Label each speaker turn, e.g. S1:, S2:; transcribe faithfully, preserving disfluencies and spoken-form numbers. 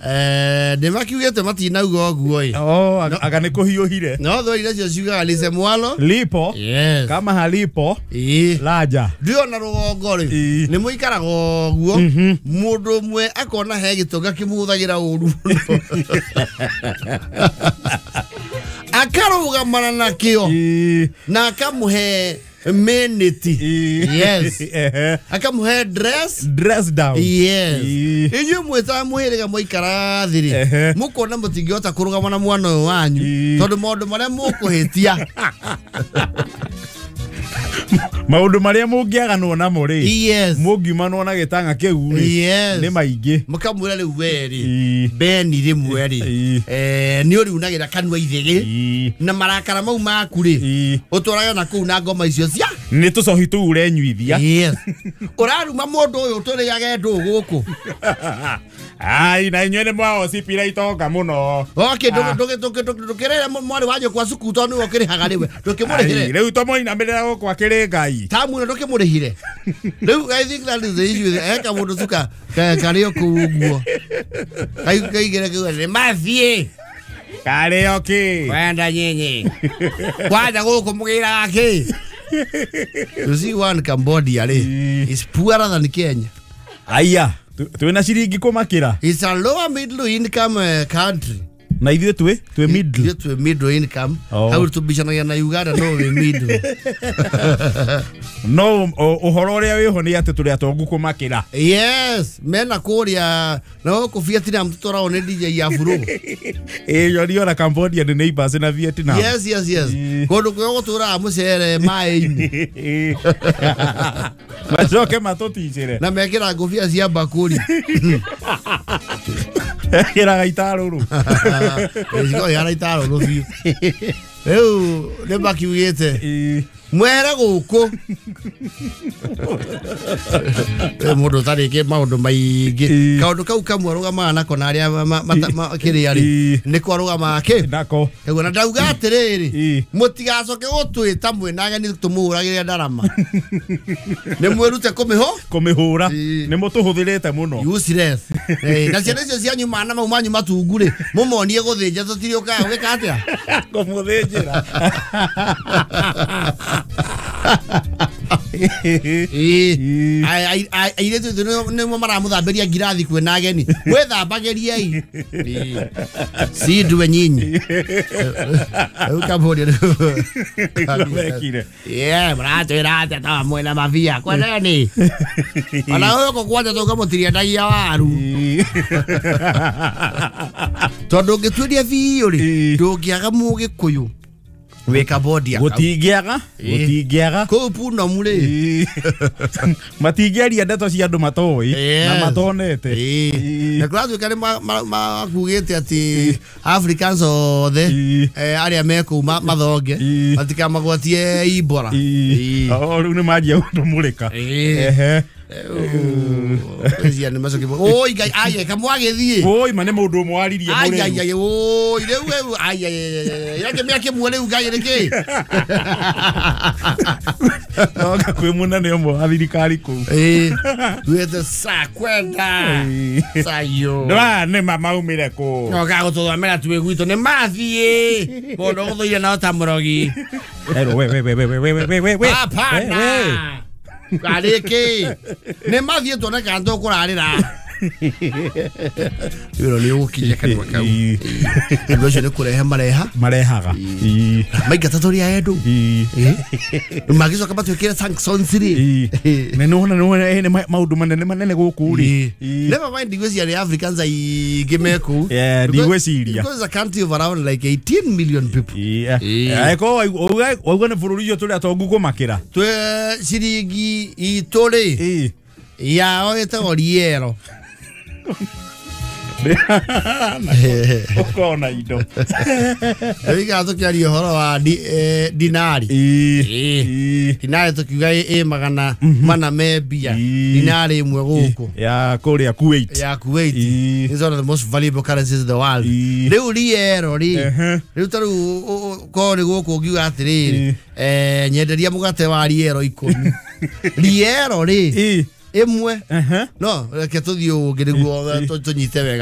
S1: Eh nĩ makiugĩte matinauga ũguo ĩ.
S2: Oh, aga nĩ kũhiũhire.
S1: No thweri icio ciugaga lisemwalo
S2: lipo.
S1: Yes.
S2: Kama halipo
S1: ĩ
S2: laja.
S1: Ndiona rũgongo rĩ nĩ mũikaraga ũguo mũndũ ũmwe akona he gĩtonga kĩmũhũthagĩra ũru mũno akarũgamana nakĩo na akamũhe minute. Yes. Akamũhe dress
S2: dress down.
S1: Yes. Inyuĩ mwĩta mũhĩrĩga mwaikara thĩ rĩ mũkona mũtingĩhota kũrũgama na mwana ũyũ wanyu tondũ maũndũ marĩa mũkũhĩtia
S2: maũndũ marĩa mũngĩaganwo namo rĩ
S1: yes
S2: mũngiumanwo na gĩtang'a kĩu rĩ
S1: yes
S2: nĩ maingĩ
S1: mũkamwĩra rĩu we rĩ Beni rĩmwe rĩ eh nĩ ũriunagĩra kanua ithĩgĩ na marakara mau maku rĩ ũtwarage na kũu na ngoma icio cia
S2: nĩ tũcohi tũu ũrenyuithia.
S1: Yes. Ũraruma mũndũ ũyũ tũrĩage ndũ gũkũ.
S2: Ai na inyuĩ nĩ mwawocipira itonga mũno.
S1: Okay, ndũkĩrĩre mwarĩ wa nyũkwa cukuru tondũ nĩwe ũkĩrĩhaga rĩu ndũkĩmũrĩhĩre.
S2: Rĩu tũmũinamĩrĩra gũkũ akĩrĩ Ngai
S1: tamu ĩno ndũkĩmũrĩhire. Rĩu I think that is the issue. Eka mũndũ cuka karĩ o kũu ũguo kaigĩre kĩu nĩ mathiĩ
S2: karĩ o kĩ
S1: kwenda nyinyi kwanja gũkũ mũgĩraga kĩ. You see one Cambodia rĩ is poorer than Kenya.
S2: Aya twĩna ciringi kũmakĩra.
S1: It's a lower middle income uh, country.
S2: Na ithuĩ twĩ twĩ middle.
S1: Ithuĩ twĩ middle income. Hau tũbicanagia na Uganda no wĩ middle.
S2: No ũhoro ũrĩa wĩho nĩ atĩ tũrĩ atongu kũmakĩra.
S1: Yes, mena kũrĩa na gũkũ Vietnam tũtwaragwo nĩ D J ya buru.
S2: Ĩ yoni ona Cambodia nĩ neighbors na Vietnam.
S1: Yes, yes, yes. Kũndũ kũrĩa gũtũraga mũcere maĩ-inĩ.
S2: Macoke matũticĩre.
S1: Na mekĩra ngũbia cia mbakũri.
S2: Kĩraga itarũrũ.
S1: Ĩcigo ihana itarũrũ biũ. Rĩu nĩ makiugĩte mwere gũkũ mũndũ ũtarĩkĩ maũndũ maingĩ kaũndũ kau kamwe arũgamaga nako na arĩa kĩrĩa rĩ nĩko arũgamaga kĩ
S2: nako
S1: na ndauga atĩrĩrĩ mũtigacoke gũtwĩta mwĩna ageni tũmũhũragĩre ndarama nĩ mwĩrute kũmĩhũ
S2: kũmĩhũra nĩ mũtũhũthĩrĩte mũno
S1: useless. Na ciana icio cianyu mana mau manyu matungu rĩ mũmonie gũthĩnja tũtirĩ ũkaga gwĩka atĩa
S2: kũmũthĩnjĩra.
S1: Airĩtu nĩmo maramũthambĩria ngirathi kwĩna ageni mwĩthambagĩriei si ndue nyinyi rĩu Cambodia
S2: mekire
S1: mũratwĩra atĩa ta mwĩna mabia kwendeni ona gũkũ kwanja tũkamũtiriendagia waru tondũ ũngĩtuĩria biũ rĩ ndũngĩaga mũgĩkũyũ wĩ Cambodia
S2: gũtingĩaga gũtingĩaga
S1: kũu Punomu rĩ
S2: matingĩaria ndeto cia andũ matoĩ na matonete.
S1: Na kũratuĩka nĩ makugĩte atĩ Africans othe arĩa me kũu mathonge matikamagwatie Ebola.
S2: Rĩu nĩ manjia gũtũmũrĩka.
S1: Cia nĩ macoke oi Ngai aye kamwagĩthiĩ
S2: oi ma nĩ mũndũ ũmwe waririe
S1: mũrĩu ai ai oi rĩu rĩu ai ai yake mĩaka ĩmwe rĩu Ngai nĩkĩ
S2: noga kwĩ mũnene ũmwe wa thirikari kũu
S1: ĩ wĩte sa kwenda sayo
S2: ndwa nĩ ma maumire kũ
S1: noga gũtũthomera twĩ gwitũ nĩ mathiĩ mũndũ ũgũthũire nao ta mũrogi
S2: Ero we we we we we we we we
S1: hapana karĩkĩ nĩ mathiĩ tuone kana tũkũrarĩra wĩra nĩ ũgũkinya kanua kau andũ acio nĩ kũrehe mareha
S2: marehaga
S1: maingata tũrĩ a andũ magĩcoka matwĩkĩre sanctions rĩ
S2: na nĩwona nĩwona nĩ maũndũ manene manene gũkũ rĩ
S1: never mind ndigwĩciria nĩ Africans aingĩ me kũu
S2: ndigwĩciria
S1: because it's a country of around like eighteen million people.
S2: Eko wauga nĩ bũrũri ũyũ tũrĩ atongu kũmakĩra
S1: twĩ ciringi itũ rĩ yao ĩtagwo riero
S2: Ũkona indo
S1: rĩu ikara tũkĩaria ũhoro wa dinari dinari tũkiuga ĩ magana mana me mbia dinari ĩmwe gũkũ
S2: ya kũrĩa Kuwait
S1: ya Kuwait is one of the most valuable currencies in the world. Rĩu riero rĩ rĩu ta rĩu korwo nĩ gũkũ ũngiuga atĩrĩrĩ nyenderia mũgate wa riero ikũmi riero rĩ ĩmwe no reke tũthiĩ ũngĩ nĩguo tũnyite wega.